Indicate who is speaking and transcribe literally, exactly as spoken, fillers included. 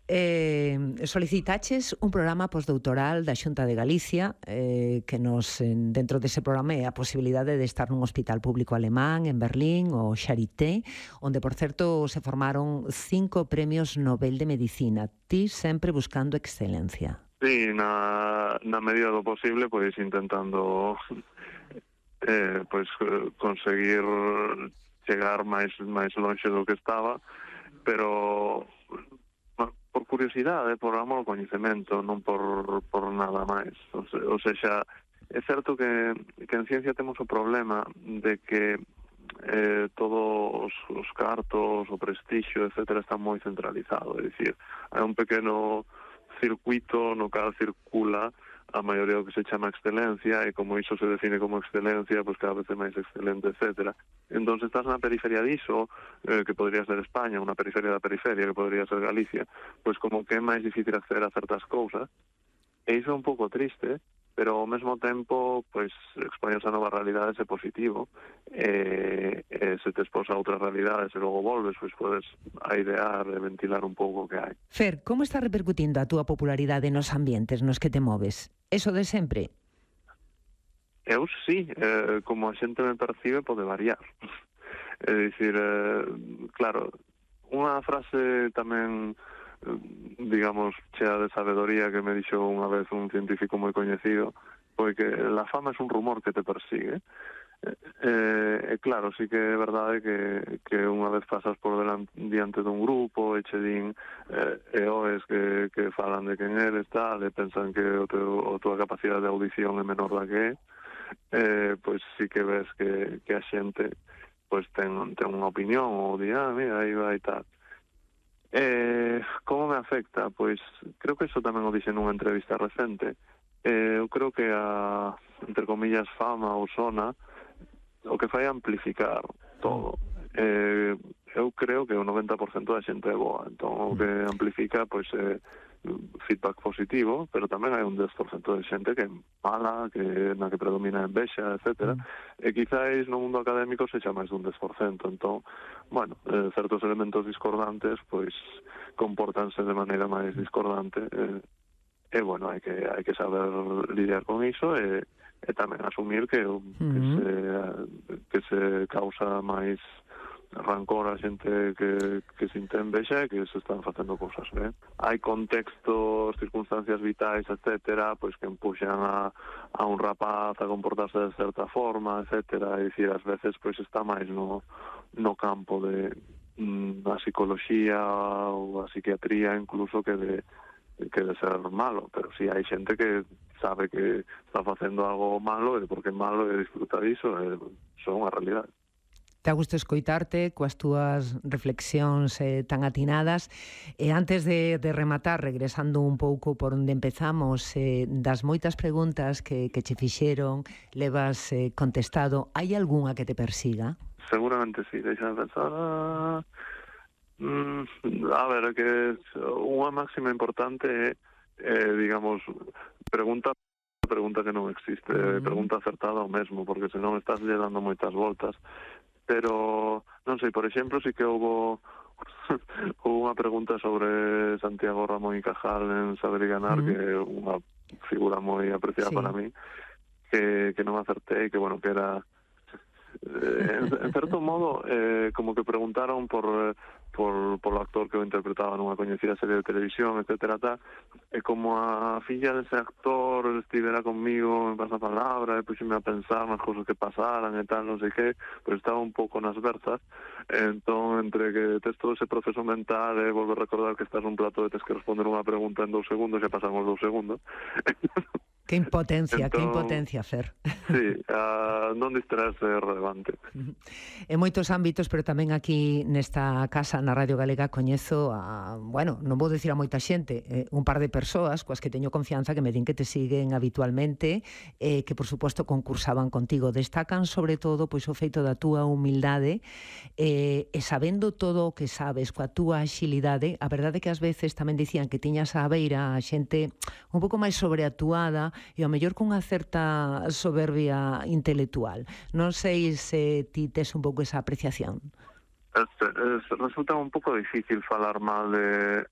Speaker 1: Eh, solicitaches un programa postdoutoral da Xunta de Galicia eh, que nos, dentro dese programa, é a posibilidade de estar nun hospital público alemán en Berlín, o Charité, onde, por certo, se formaron cinco premios Nobel de Medicina. Ti sempre buscando excelencia.
Speaker 2: Sí, na, na medida do posible, pois intentando eh, pois conseguir chegar máis máis lonxe do que estaba, pero por curiosidade, por amor ao coñecemento, non por, por nada máis. O, se, o sexa, é certo que, que en ciencia temos o problema de que eh, todos os cartos, o prestixio, etcétera, está moi centralizado. É dicir, hai un pequeno circuito no cal circula a maioría do que se chama excelencia, e como iso se define como excelencia, pois cada vez é máis excelente, etcétera. Entón, se estás na periferia diso, eh, que podría ser España, unha periferia da periferia, que podría ser Galicia, pois como que é máis difícil acceder a certas cousas, e iso é un pouco triste, pero ao mesmo tempo, pois, expoñerse a novas realidades é positivo, e, e se te expos a outras realidades e logo volves, pois podes airear e ventilar un pouco o que hai.
Speaker 1: Fer, como está repercutindo a túa popularidade nos ambientes nos que te moves? Eso de sempre?
Speaker 2: Eu sí, eh, como a xente me percibe pode variar. É dicir, eh, claro, unha frase tamén, digamos, chea de sabedoría que me dixo unha vez un científico moi coñecido, foi que la fama é un rumor que te persigue. Eh, eh, claro, sí que é verdade que, que unha vez pasas por delante, diante dun grupo e che din eh, e oes que, que falan de quen eres, tal, e pensan que o teu, a tua capacidade de audición é menor da que é, eh, pois sí que ves que, que a xente pois ten, ten unha opinión ou di, ah, mira, aí vai tal. Eh, como me afecta? Pois creo que iso tamén o dixen nunha entrevista recente. Eh, eu creo que a, entre comillas, fama ou sona o que fai é amplificar todo. Eh, eu creo que o noventa por cento da xente é boa, entón o que amplifica pois é feedback positivo, pero tamén hai un dez por cento de xente que é mala, que na que predomina a envexa, etcétera. Mm. E quizáis no mundo académico se xa máis dun dez por cento, entón, bueno, eh, certos elementos discordantes pois compórtanse de maneira máis discordante, eh, e bueno, hai que hai que saber lidiar con iso e e tamén asumir que, uh-huh. que, se, que se causa máis rancor a xente que, que se envexa e que se están facendo cousas ben. Hai contextos, circunstancias vitais, etcétera, pois que empuxan a, a un rapaz a comportarse de certa forma, etcétera, e dicir, ás veces pois está máis no, no campo de mm, a psicología ou a psiquiatría incluso que de que de ser malo, pero si sí, hai xente que sabe que está facendo algo malo e porque é malo e disfruta diso, e son unha realidade.
Speaker 1: Te a gusto escoitarte coas túas reflexións eh, tan atinadas. E antes de, de rematar, regresando un pouco por onde empezamos, eh, das moitas preguntas que, que che fixeron, levas eh, contestado, hai algunha que te persiga?
Speaker 2: Seguramente sí, deixa de pensar... Ah... Mm, a ver, que unha máxima importante é, eh, digamos, pregunta pregunta que non existe, uh-huh. pregunta acertada ao mesmo, porque senón estás lle dando moitas voltas. Pero, non sei, por exemplo, si que houve unha pregunta sobre Santiago Ramón y Cajal en Saber y Ganar, uh-huh. que é unha figura moi apreciada sí. para mí, que, que non acertei, que, bueno, que era... Eh, en, en certo modo, eh, como que preguntaron por... Eh, por, por o actor que o interpretaba nunha coñecida serie de televisión, etcétera, tal, e como a filla dese actor estivera conmigo, me pasa a palabra, e puxeme a pensar nas cousas que pasaran e tal, non sei que, pois estaba un pouco nas versas, entón, entre que tes todo ese proceso mental e volvo a recordar que estás nun plato e tes que responder unha pregunta en dous segundos e pasan os dous segundos.
Speaker 1: Que impotencia, entón, que impotencia, Fer.
Speaker 2: Sí, uh, non distraerse é relevante.
Speaker 1: En moitos ámbitos, pero tamén aquí nesta casa, na Radio Galega, coñezo a, bueno, non vou dicir a moita xente, eh, un par de persoas coas que teño confianza que me din que te siguen habitualmente, eh, que por suposto concursaban contigo. Destacan sobre todo pois o feito da túa humildade eh, e sabendo todo o que sabes, coa túa axilidade, a verdade que ás veces tamén dicían que tiñas á beira a xente un pouco máis sobreatuada e ao mellor cunha certa soberbia intelectual. Non sei se ti tes un pouco esa apreciación.
Speaker 2: Este, es, resulta un pouco difícil falar mal de,